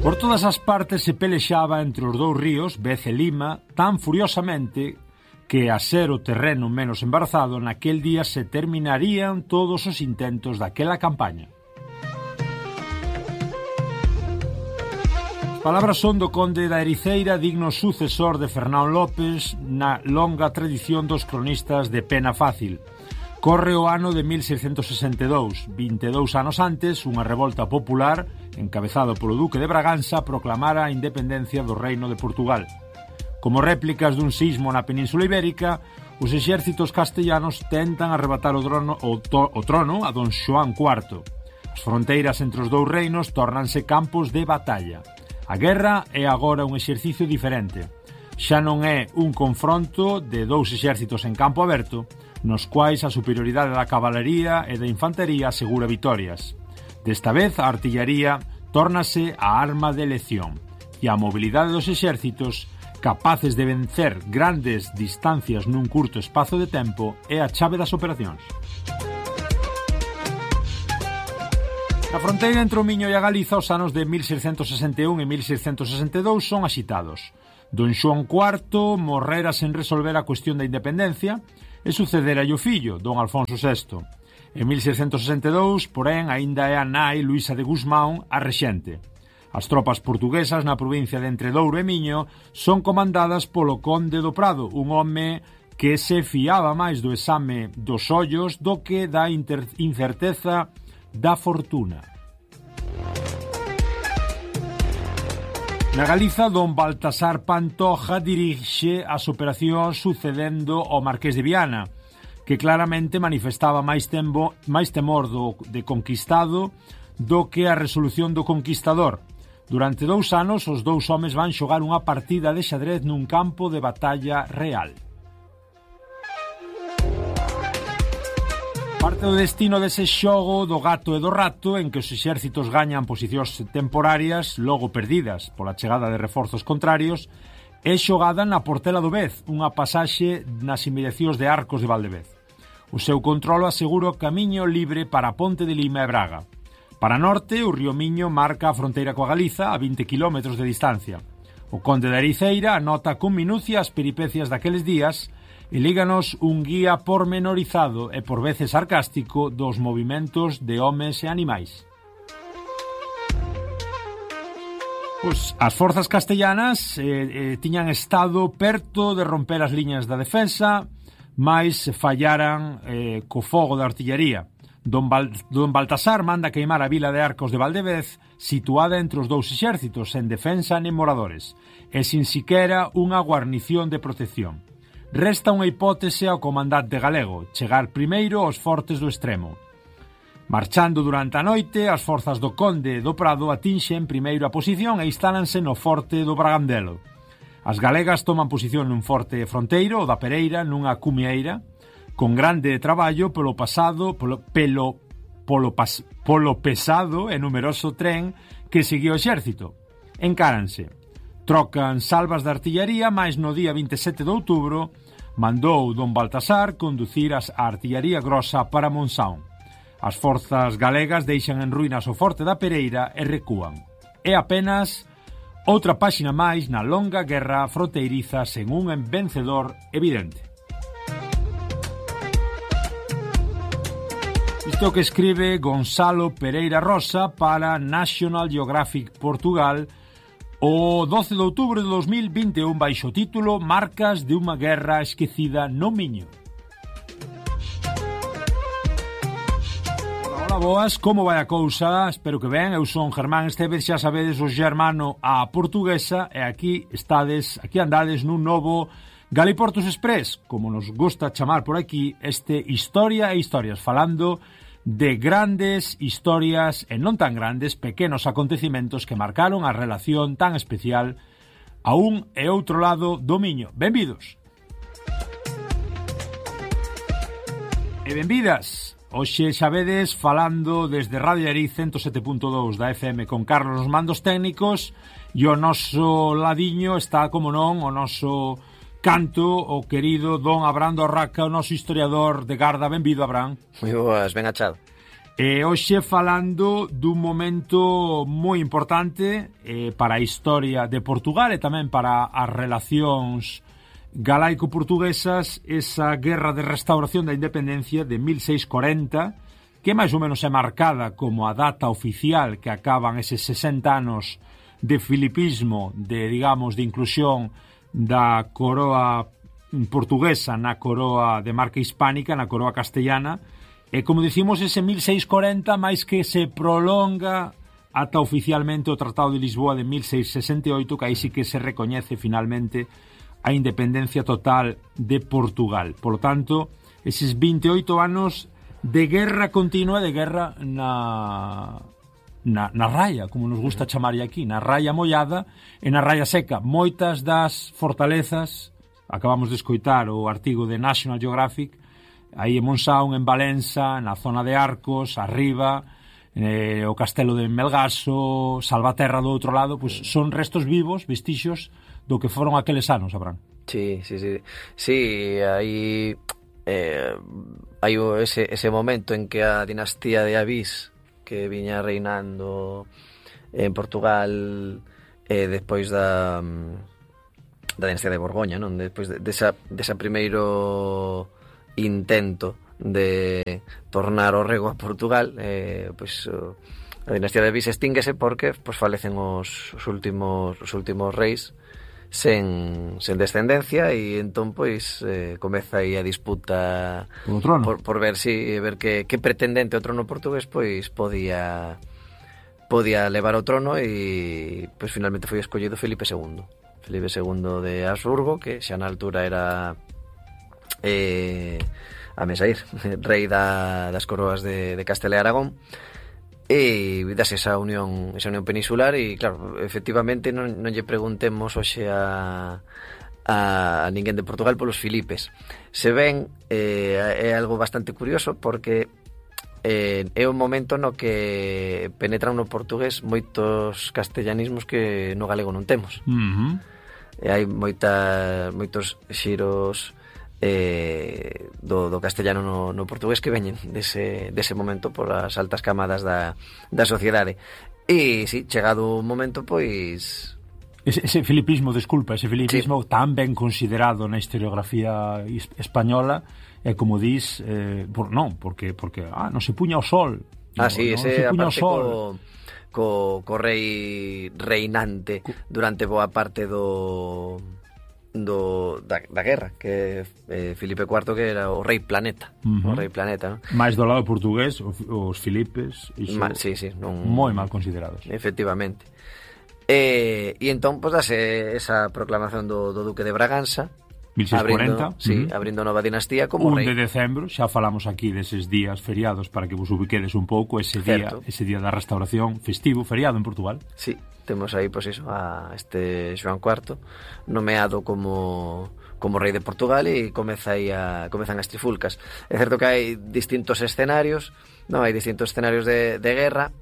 Por todas as partes se pelexaba entre os dous ríos, Vez e Lima, tan furiosamente que, a ser o terreno menos embarazado, naquel día se terminarían todos os intentos daquela campaña. As palabras son do conde da Ericeira, digno sucesor de Fernán López na longa tradición dos cronistas de pena fácil. Corre o ano de 1662, 22 anos antes, unha revolta popular, encabezado polo duque de Braganza, proclamara a independencia do Reino de Portugal. Como réplicas dun sismo na Península Ibérica, os exércitos castellanos tentan arrebatar o trono a don Xoán IV. As fronteiras entre os dous reinos tórnanse campos de batalla. A guerra é agora un exercicio diferente. Xa non é un confronto de dous exércitos en campo aberto, nos quais a superioridade da cabalería e da infantería asegura vitorias. Desta vez, a artillaría tórnase a arma de elección e a mobilidade dos exércitos, capaces de vencer grandes distancias nun curto espazo de tempo, é a chave das operacións. Na fronteira entre o Miño e a Galiza, os anos de 1661 e 1662 son axitados. Don Xoán IV morrera sen resolver a cuestión da independencia e sucedera o fillo, don Alfonso VI. En 1662, porén, aínda é a nai Luisa de Gusmão a rexente. As tropas portuguesas na provincia de Entre Douro e Miño son comandadas polo conde do Prado, un home que se fiaba máis do exame dos ollos do que da incerteza da fortuna. Na Galiza, don Baltasar Pantoja dirixe as operacións sucedendo ao Marqués de Viana, que claramente manifestaba máis temor de conquistado do que a resolución do conquistador. Durante 2 anos, os dous homes van xogar unha partida de xadrez nun campo de batalla real. Parte do destino dese xogo do gato e do rato, en que os exércitos gañan posicións temporarias, logo perdidas pola chegada de reforzos contrarios, é xogada na Portela do Vez, unha pasaxe nas inmediacións de Arcos de Valdevez. O seu controlo asegura o camiño libre para Ponte de Lima e Braga. Para norte, o río Miño marca a fronteira coa Galiza a 20 km de distancia. O conde da Ericeira anota con minucia as peripecias daqueles días e líganos un guía pormenorizado e por veces sarcástico dos movimentos de homes e animais. As forzas castellanas tiñan estado perto de romper as liñas da defensa, mais fallaran co fogo da artillaría. Don Baltasar manda queimar a vila de Arcos de Valdevez, situada entre os dous exércitos, sen defensa nen moradores, e sin siquera unha guarnición de protección. Resta unha hipótese ao comandante galego, chegar primeiro aos fortes do extremo. Marchando durante a noite, as forzas do conde do Prado atinxen primeiro a posición e instálanse no forte do Bragandelo. As galegas toman posición nun forte fronteiro, o da Pereira, nunha cumieira, con grande traballo polo pesado e numeroso tren que seguía o exército. Encáranse. Trocan salvas de artillaría, mais no día 27 de outubro mandou don Baltasar conducir a artillaría grosa para Monsaón. As forzas galegas deixan en ruínas o forte da Pereira e recúan. É apenas outra páxina máis na longa guerra fronteiriza sen un vencedor evidente. Isto que escribe Gonzalo Pereira Rosa para National Geographic Portugal o 12 de outubro de 2021 baixo o título Marcas de unha guerra esquecida no Miño. Hola, boas, como vai a cousa? Espero que ben, eu son Germán Esteves, xa sabedes, o germano a portuguesa, e aquí andades nun novo Galiportus Express, como nos gusta chamar por aquí, Historia e Historias, falando de grandes historias e non tan grandes, pequenos acontecimentos que marcaron a relación tan especial a un e outro lado do Miño. Benvidos! E benvidas! Hoxe xa vedes falando desde Radio Ariz 107.2 da FM con Carlos nos mandos técnicos, e o noso ladiño está, como non, o noso canto, o querido don Abraham Dorraca, o noso historiador de garda. Benvido, Abraham. Moi boas, ben achado. E hoxe falando dun momento moi importante para a historia de Portugal e tamén para as relacións galaico-portuguesas, esa guerra de restauración da independencia de 1640, que máis ou menos é marcada como a data oficial que acaban eses 60 anos de filipismo, de, digamos, de inclusión da coroa portuguesa na coroa de marca hispánica, na coroa castellana. E, como dicimos, ese 1640 máis que se prolonga ata oficialmente o Tratado de Lisboa de 1668, que aí sí que se recoñece finalmente a independencia total de Portugal. Por lo tanto, eses 28 anos de guerra continua, de guerra na raya, como nos gusta chamar aquí, na raya mollada e na raya seca. Moitas das fortalezas, acabamos de escoitar o artigo de National Geographic, aí en Monsaun, en Valença, na zona de Arcos, arriba, o castelo de Melgaso, Salvaterra do outro lado, pues son restos vivos, vestixios do que foron aqueles anos, Abraham. Sí, aí hai ese momento en que a dinastía de Avís, que viña reinando en Portugal despois da dinastía de Borgoña, non? Despois desa primeiro intento de tornar o rego a Portugal, pois a dinastía de Avís extínguese porque pois falecen os últimos reis sen descendencia, e entón pois comeza aí a disputa por ver que pretendente ao trono portugués pois podía levar ao trono, e pois finalmente foi escollido Felipe II de Habsburgo, que xa na altura era a Mesaír, rei das coroas de Castela e Aragón, e dase esa unión peninsular. E claro, efectivamente non lle preguntemos hoxe a ninguén de Portugal polos Filipes. Se ven, é algo bastante curioso, porque é un momento no que penetran no portugués moitos castellanismos que no galego non temos. E hai moitos xiros do castellano no portugués que veñen dese momento por as altas camadas da sociedade. E si, chegado o momento, pois ese filipismo, sí, tan ben considerado na historiografía española, é como dis, porque non se puña o sol. Sí, ese aparte co rei reinante durante boa parte da guerra, que Filipe IV, que era o rei planeta, o rei planeta, non? Mais do lado portugués, os Filipes moi mal considerados, efectivamente. E entón, pois, dase esa proclamación do Duque de Bragança, 1640, abrindo nova dinastía como rei. 1 de decembro, xa falamos aquí deses días feriados para que vos ubiquedes un pouco, ese día da restauración, festivo, feriado en Portugal. Sí, temos aí, pois iso, a este Xoán IV nomeado como rei de Portugal, e comezan as trifulcas. É certo que hai distintos escenarios, hai distintos escenarios de guerra,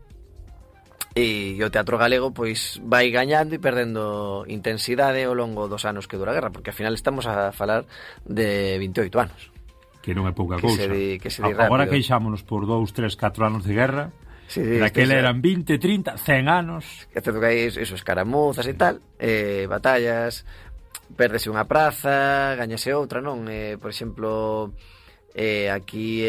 e o teatro galego pois vai gañando e perdendo intensidade ao longo dos anos que dura a guerra, porque ao final estamos a falar de 28 anos, que non é pouca cousa. Que se di agora rápido. Queixámonos por 2, 3, 4 anos de guerra. Sí, daquela eran 20, 30, 100 anos. É certo que hai escaramuzas e tal, batallas, pérdese unha praza, gañase outra, non? Por exemplo, aquí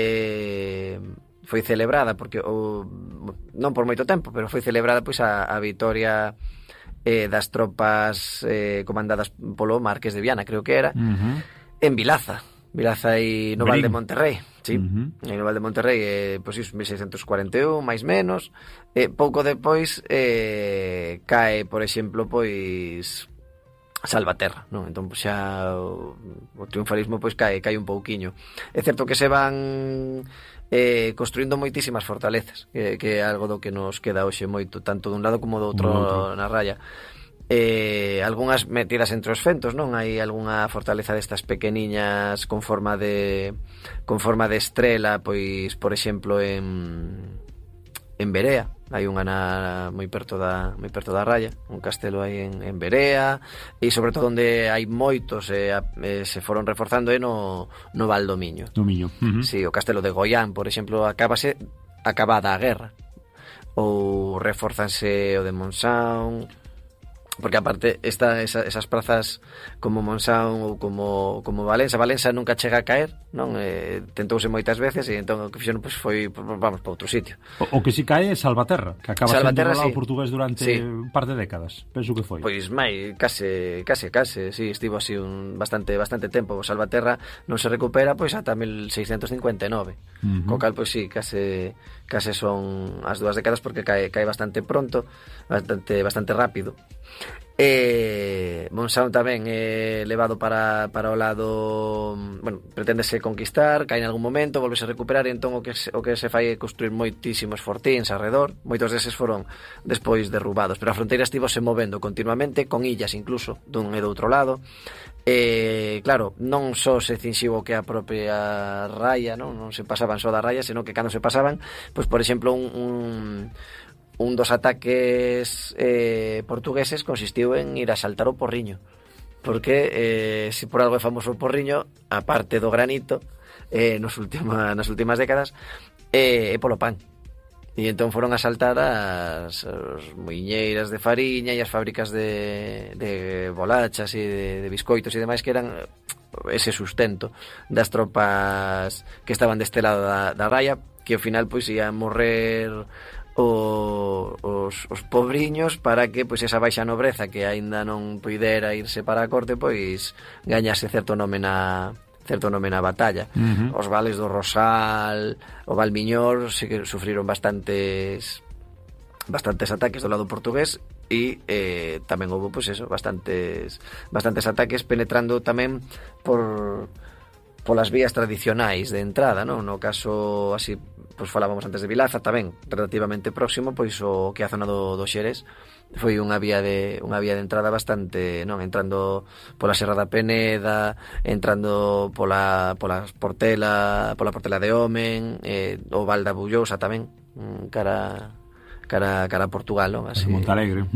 foi celebrada, porque non por moito tempo, pero foi celebrada pois a vitoria das tropas comandadas polo Marqués de Viana, creo que era, en Vilaza e no Val de Monterrey. Sí, en no Val de Monterrey, pois iso, 1641, máis menos. Pouco depois cae, por exemplo, pois Salvaterra, non? Entón, pois, xa o triunfalismo pois cae un pouquiño. É certo que se van construindo moitísimas fortalezas, que é algo do que nos queda hoxe moito, tanto dun lado como do outro na raya. Algunhas metidas entre os fentos, non? Hai algunha fortaleza destas pequeniñas con forma de estrela, pois, por exemplo, en Berea. Hai unha moi perto da raya, un castelo aí en Berea, e sobre todo onde hai moitos se foron reforzando no Val do Miño. Do Miño. Sí, o castelo de Goián, por exemplo, acábase acabada a guerra, ou reforzanse o de Monsaun, porque aparte esas prazas como Monsaun ou como Valença nunca chega a caer, non? Tentouse moitas veces e entón o que fixeron pois foi vamos para outro sitio. O que si cae é Salvaterra, que acaba Salvaterra, sendo sí. portugués durante un par de décadas, penso que foi. Pois case, sí, estivo así bastante tempo. O Salvaterra non se recupera pois ata 1659. Co cal pois sí, case son as 2 décadas porque cae bastante pronto, bastante rápido. Monsaun tamén é levado para o lado, bueno, preténdese conquistar, cae en algún momento, volvese a recuperar, e entón o que se fai é construir moitísimos fortíns arredor. Moitos deses foron despois derrubados, pero a fronteira estivose movendo continuamente, con illas incluso dun e do outro lado. Claro, non só se cinxiu o que a propia raya, non se pasaban só da raya, senón que cando se pasaban, pois por exemplo un dos ataques portugueses consistiu en ir a saltar o Porriño, porque se por algo é famoso o Porriño, aparte do granito, nas últimas décadas, é polo pan. E entón foron a saltar as muiñeiras de fariña e as fábricas de bolachas e de biscoitos e demais, que eran ese sustento das tropas que estaban deste lado da raya, que ao final pois ian morrer os pobriños para que pois esa baixa nobreza que aínda non poidera irse para a corte pois gañase certo nome na batalla. Os vales do Rosal, o Valmiñor, sí que sufriron bastantes ataques do lado portugués, e tamén houve pois eso, bastantes ataques penetrando tamén polas vías tradicionais de entrada, non? No caso así, pois falábamos antes de Vilaza, tamén relativamente próximo, pois o que a zona do Xerés foi unha vía de entrada bastante, non, entrando pola Serra da Peneda, entrando pola Portela de Omen, o Val da Bullosa tamén, cara a Portugal, non? Así. Montalegre.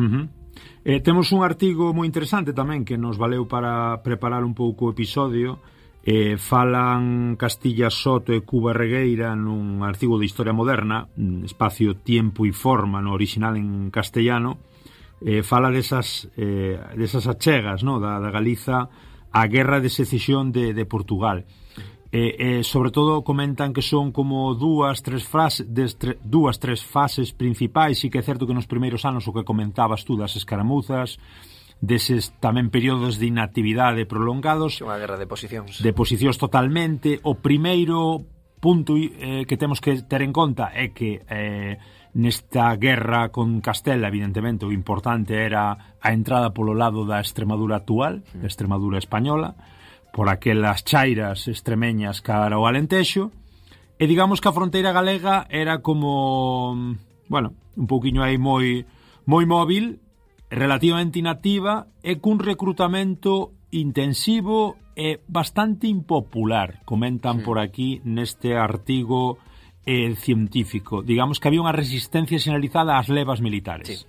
Temos un artigo moi interesante tamén que nos valeu para preparar un pouco o episodio. Falan Castilla Soto e Cuba Regueira nun artigo de Historia Moderna, espacio Tiempo e Forma, no original en castellano. Fala desas achegas, no, da Galiza á guerra de secesión de Portugal. Sobre todo comentan que son como dúas, tres fases principais, e que é certo que nos primeiros anos o que comentabas tú das escaramuzas, deses tamén períodos de inactividade prolongados, unha guerra de posicións totalmente. O primeiro punto que temos que ter en conta é que nesta guerra con Castela, evidentemente o importante era a entrada polo lado da Extremadura actual, da Extremadura española, por aquelas chairas extremeñas cara ao Alentexo, e digamos que a fronteira galega era como, bueno, un pouquiño aí moi móvil, relativamente inactiva, e cun recrutamento intensivo e bastante impopular, comentan por aquí neste artigo científico. Digamos que había unha resistencia sinalizada ás levas militares.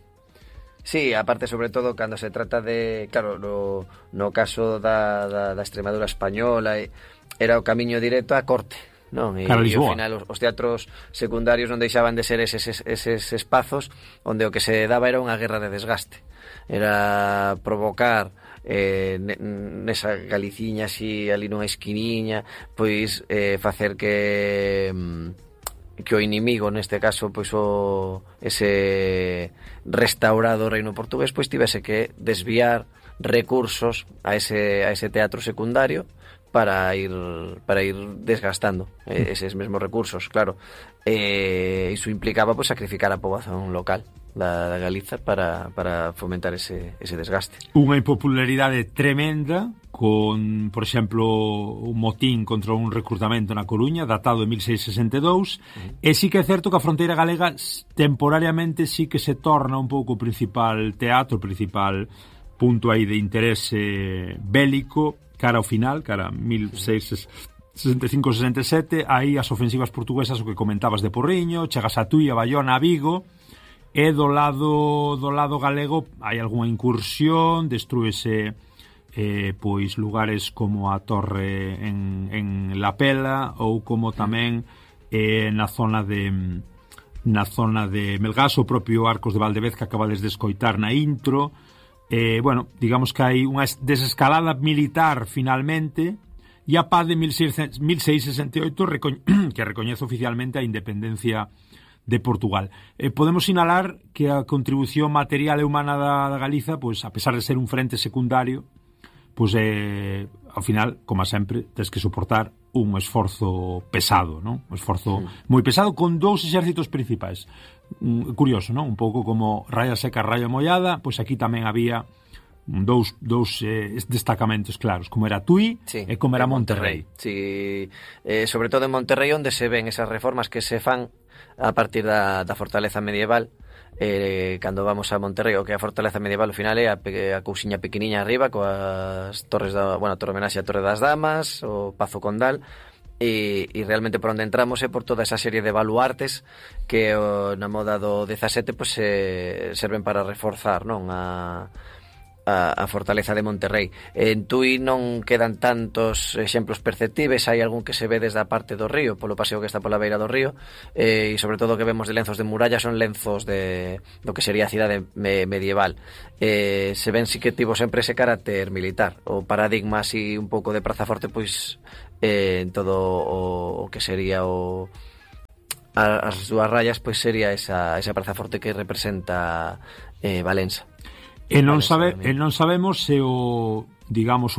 Sí, aparte, sobre todo, cando se trata de, claro, no caso da Extremadura española, era o camiño directo á corte, non? E ao final os teatros secundarios non deixaban de ser eses espazos onde o que se daba era unha guerra de desgaste, era provocar nesa Galiciña así ali nunha esquiniña, pois facer que o inimigo, neste caso pois ese restaurado reino portugués, pois tivese que desviar recursos a ese teatro secundario para ir desgastando eses mesmos recursos, claro. Iso implicaba pois sacrificar a poboación local da Galiza para fomentar ese desgaste. Unha impopularidade tremenda, con, por exemplo, un motín contra un recrutamento na Coruña datado de 1662, e sí que é certo que a fronteira galega temporariamente sí que se torna un pouco o principal teatro, o principal punto aí de interese bélico cara ao final, cara a 1665-67, aí as ofensivas portuguesas, o que comentabas de Porriño, chegas a Tui, a Bayona, a Vigo, e do lado galego hai algunha incursión, destrúese pois lugares como a Torre en La Pela, ou como tamén na zona de na zona de Melgaso, o propio Arcos de Valdevez que acabades de escoitar na intro. Bueno, digamos que hai unha desescalada militar finalmente, e a paz de 1668 que recoñece oficialmente a independencia de Portugal. Podemos sinalar que a contribución material e humana da Galiza, pois, a pesar de ser un frente secundario, pois, ao final, como sempre, tens que soportar un esforzo pesado, non? Un esforzo moi pesado con dous exércitos principais. Curioso, non? Un pouco como raya seca, raya mollada, pois aquí tamén había dous destacamentos claros, como era Tui e como era Monterrey. Sí, sobre todo en Monterrey, onde se ven esas reformas que se fan a partir da fortaleza medieval. Cando vamos a Monterrey, o que a fortaleza medieval ao final é a cousiña pequeniña arriba coas torres a Torre Homenaxe a Torre das Damas, o Pazo Condal, e realmente por onde entramos é por toda esa serie de baluartes que na moda do 17 pues, serven para reforzar, non, a fortaleza de Monterrey. En Tui non quedan tantos exemplos perceptíveis, hai algún que se ve desde a parte do río, polo paseo que está pola beira do río, e sobre todo o que vemos de lenzos de muralla son lenzos do que sería a cidade medieval. Se ven si que tivo sempre ese carácter militar, o paradigma así un pouco de Praza Forte, pois en todo o que sería as dúas rayas, pois sería esa Praza Forte que representa Valença. E non sabemos se o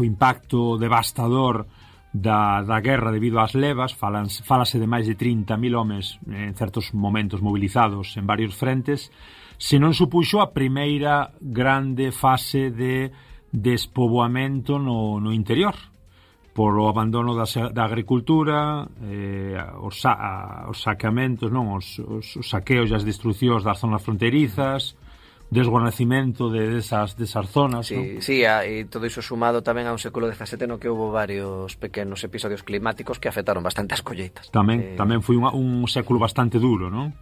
impacto devastador da guerra debido ás levas, falase de máis de 30.000 homes en certos momentos mobilizados en varios frentes, se non supuxo a primeira grande fase de despoboamento no interior, por o abandono da agricultura, os saqueamentos, non, os saqueos e as destruccións das zonas fronteirizas, desguarnecimento desas zonas, sí, ¿no? Sí, e todo iso sumado tamén a un século XVII no que houve varios pequenos episodios climáticos que afectaron bastante as colleitas. Tamén foi un século bastante duro, ¿no?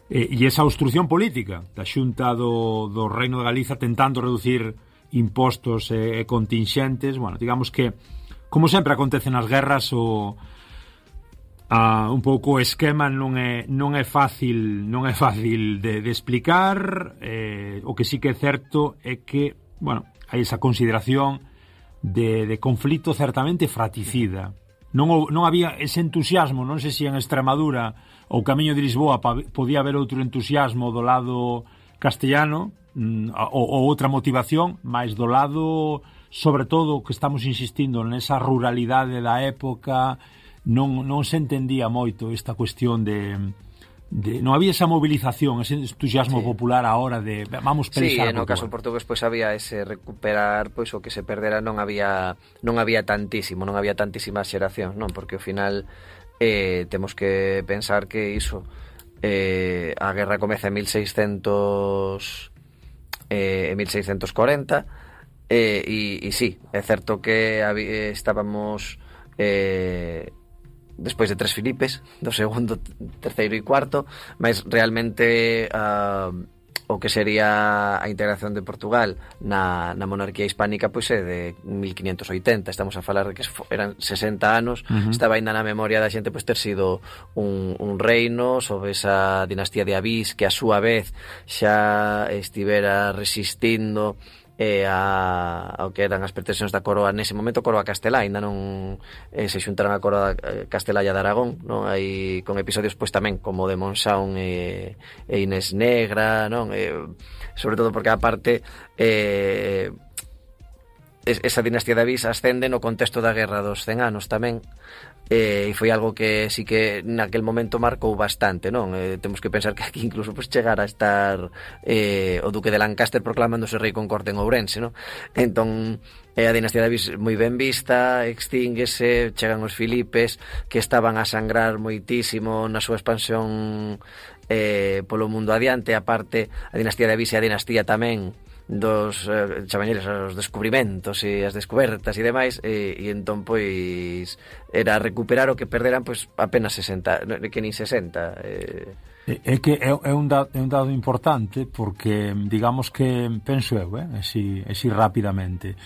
E esa obstrucción política da Xunta do Reino de Galiza tentando reducir impostos e contingentes, bueno, digamos que como sempre acontece nas guerras un pouco o esquema non é fácil de explicar. O que sí que é certo é que, bueno, hai esa consideración de conflito certamente fratricida. Non había ese entusiasmo, non sei se en Extremadura ou Camiño de Lisboa podía haber outro entusiasmo do lado castellano ou outra motivación, mas do lado, sobre todo, que estamos insistindo nesa ruralidade da época, non se entendía moito esta cuestión de non había esa movilización, ese entusiasmo popular a hora de vamos pensar. Sí, no caso portugués pois había ese recuperar pois o que se perdera, non había tantísima xeración, non, porque ao final temos que pensar que iso a guerra comeza en 1640 e sí, é certo que estábamos despois de tres Filipes, do segundo, terceiro e cuarto, mas realmente o que sería a integración de Portugal na monarquía hispánica pois é de 1580, estamos a falar de que eran 60 anos, estaba ainda na memoria da xente pois ter sido un reino sobre esa dinastía de Avís que a súa vez xa estivera resistindo ao que eran as pretensións da coroa nese momento, coroa castelá, ainda non se xuntaron a coroa castelá e a de Aragón, non? Hai con episodios pois tamén como de Monsaun e Inés Negra, non? Sobre todo porque aparte esa dinastía de Avís ascende no contexto da Guerra dos 100 anos tamén, e foi algo que sí que naquel momento marcou bastante, non? Temos que pensar que aquí incluso pues, chegar a estar o duque de Lancaster proclamándose rei con corte en Ourense, non? Entón a dinastía de Avís moi ben vista, extínguese, chegan os Filipes que estaban a sangrar moitísimo na súa expansión polo mundo adiante. Aparte a dinastía de Avís e a dinastía tamén dos chamañeles, os descubrimentos e as descobertas e demais, e entón pois era recuperar o que perderan pois apenas 60, que nin 60. É que é un dado importante porque digamos que penso eu, así rapidamente,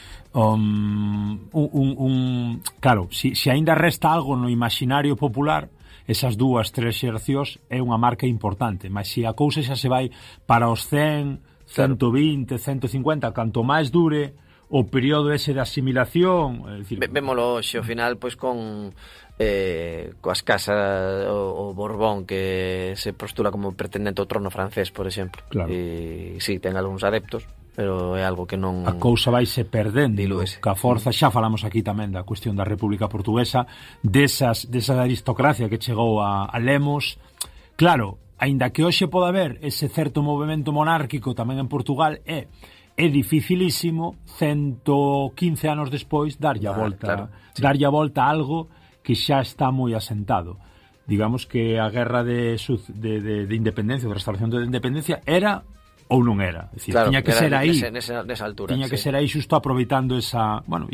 claro, se aínda resta algo no imaginario popular esas 2-3 xeracións é unha marca importante, mas se a cousa xa se vai para os 100, 120, 150, canto máis dure o período ese de asimilación, é dicir, vémolo hoxe, ao final, pois con coas casas o Borbón, que se postula como pretendente ao trono francés, por exemplo. Claro. E sí, ten algúns adeptos, pero é algo que non... A cousa vai se perdendo, dilúese. ca forza, xa falamos aquí tamén da cuestión da República Portuguesa, desa aristocracia que chegou a Lemos. Claro, aínda que hoxe pode haber ese certo movimento monárquico tamén en Portugal, é dificilísimo 115 anos despois darlle a volta, claro, sí. Darlle a volta a algo que xa está moi asentado. Digamos que a guerra de independencia, de restauración da independencia, era ou non era. É dicir, claro, tiña que ser aí. Nesa altura. Tiña que sí. ser aí xusto aproveitando esa, bueno,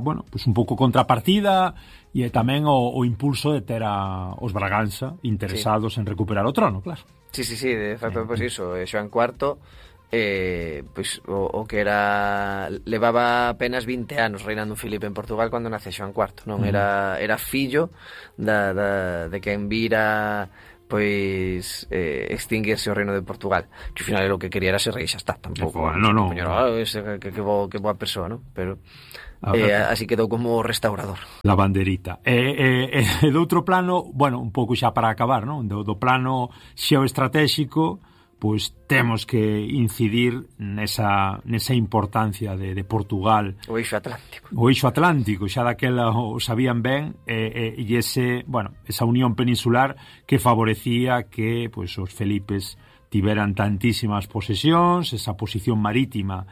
bueno, pues un pouco contrapartida e tamén o impulso de ter os Braganza interesados en recuperar o trono, claro. Sí, de facto, pois iso, Xoán IV, pois o que era, levaba apenas 20 anos reinando Filipe en Portugal cando nace Xoán IV, non? Era fillo de quen vira pois extinguirse o reino de Portugal, que ao final o que quería era ser rei, xa está, tampouco. No. Que boa persoa, non? Pero así quedou como restaurador. La banderita. Do outro plano, bueno, un pouco xa para acabar, non? Do plano xeoestratéxico, pois temos que incidir nesa importancia de Portugal. O eixo atlántico. O eixo atlántico, xa daquela o sabían ben, e esa unión peninsular que favorecía que pois os Felipes tiveran tantísimas posesións, esa posición marítima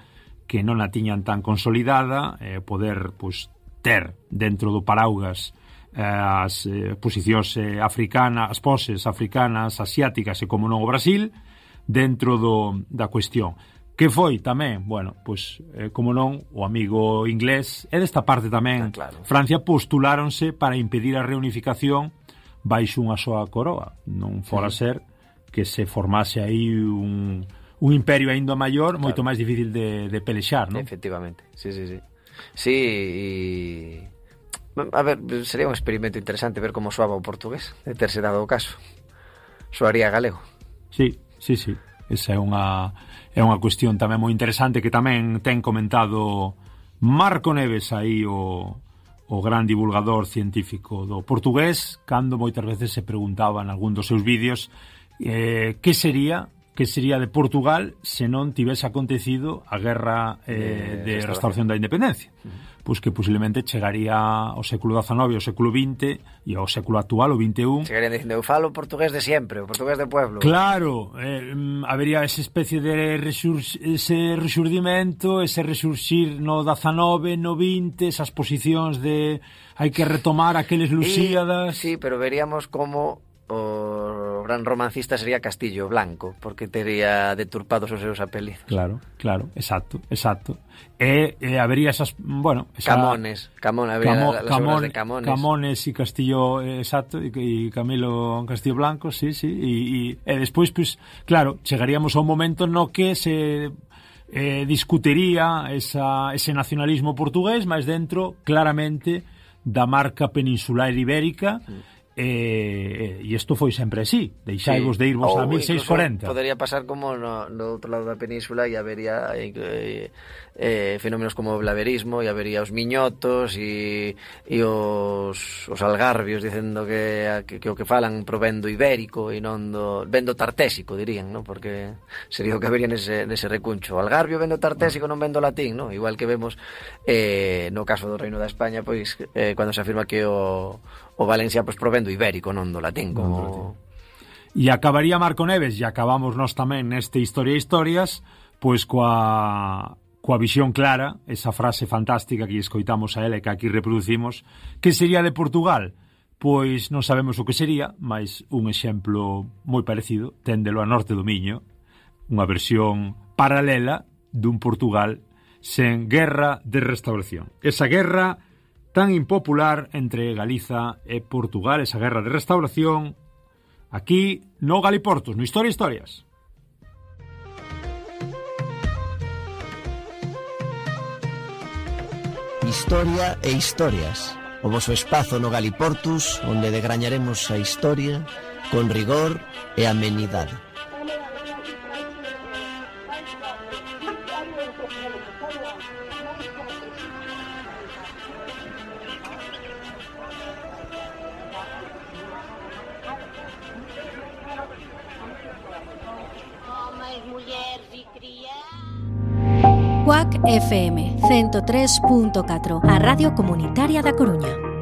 que non a tiñan tan consolidada, poder pois ter dentro do paraugas as posicións africanas, as poses africanas, asiáticas e como non o Brasil, dentro da cuestión. Que foi tamén, bueno, pois, como non, o amigo inglés, e desta parte tamén, claro. Francia postuláronse para impedir a reunificación baixo unha soa coroa. Non fora ser que se formase aí un imperio aínda maior, claro. Moito máis difícil de pelexar, non? Efectivamente, sí. Sí, a ver, sería un experimento interesante ver como soaba o portugués, de terse dado o caso. Soaría galego. Sí. Esa é unha cuestión tamén moi interesante que tamén ten comentado Marco Neves aí, o gran divulgador científico do portugués, cando moitas veces se preguntaba en algún dos seus vídeos que sería de Portugal se non tivese acontecido a guerra de restauración da independencia. Pois que posiblemente chegaría ao século XIX, ao século XX e ao século actual, o XXI. Chegarían dicindo, eu falo portugués de sempre, o portugués de pueblo. Claro, habería esa especie de ese resurgimento, ese resurxir no XIX, no XX, esas posicións de hai que retomar aqueles Lusíadas. Sí, pero veríamos como o gran romancista sería Castillo Blanco, porque tería deturpados os seus apelidos. Claro, exacto. E habería esas, bueno, Camones, habería las obras de Camones. Camones e Castillo, exacto, e Camilo Castillo Blanco, sí, e despois, pues, claro, chegaríamos a un momento no que se discutiría ese nacionalismo portugués, mas dentro, claramente, da marca peninsular ibérica. E isto foi sempre así, deixaivos de irvos a 1640. Podería pasar como no outro lado da península e habería fenómenos como o blaverismo, e habería os miñotos e os algarbios dicendo que o que falan provendo ibérico e non vendo tartésico, dirían, ¿no? Porque sería o que habería nese recuncho. Algarbio vendo tartésico, non vendo latín, ¿no? Igual que vemos no caso do Reino da España, pois cando se afirma que o Valencia pois provendo ibérico, non do latín, como... E acabaría Marco Neves, e acabamos nós tamén neste Historia e Historias, pois coa visión clara, esa frase fantástica que escoitamos a ela e que aquí reproducimos, que sería de Portugal? Pois non sabemos o que sería, mas un exemplo moi parecido, téndelo a norte do Miño, unha versión paralela dun Portugal sen guerra de restauración. Esa guerra tan impopular entre Galiza e Portugal, esa guerra de restauración, aquí no Galiportos, no Historia e Historias. Historia e Historias. o voso espazo no Galiportus, onde degrañaremos a historia con rigor e amenidade. Cuac FM 103.4, a Radio Comunitaria da Coruña.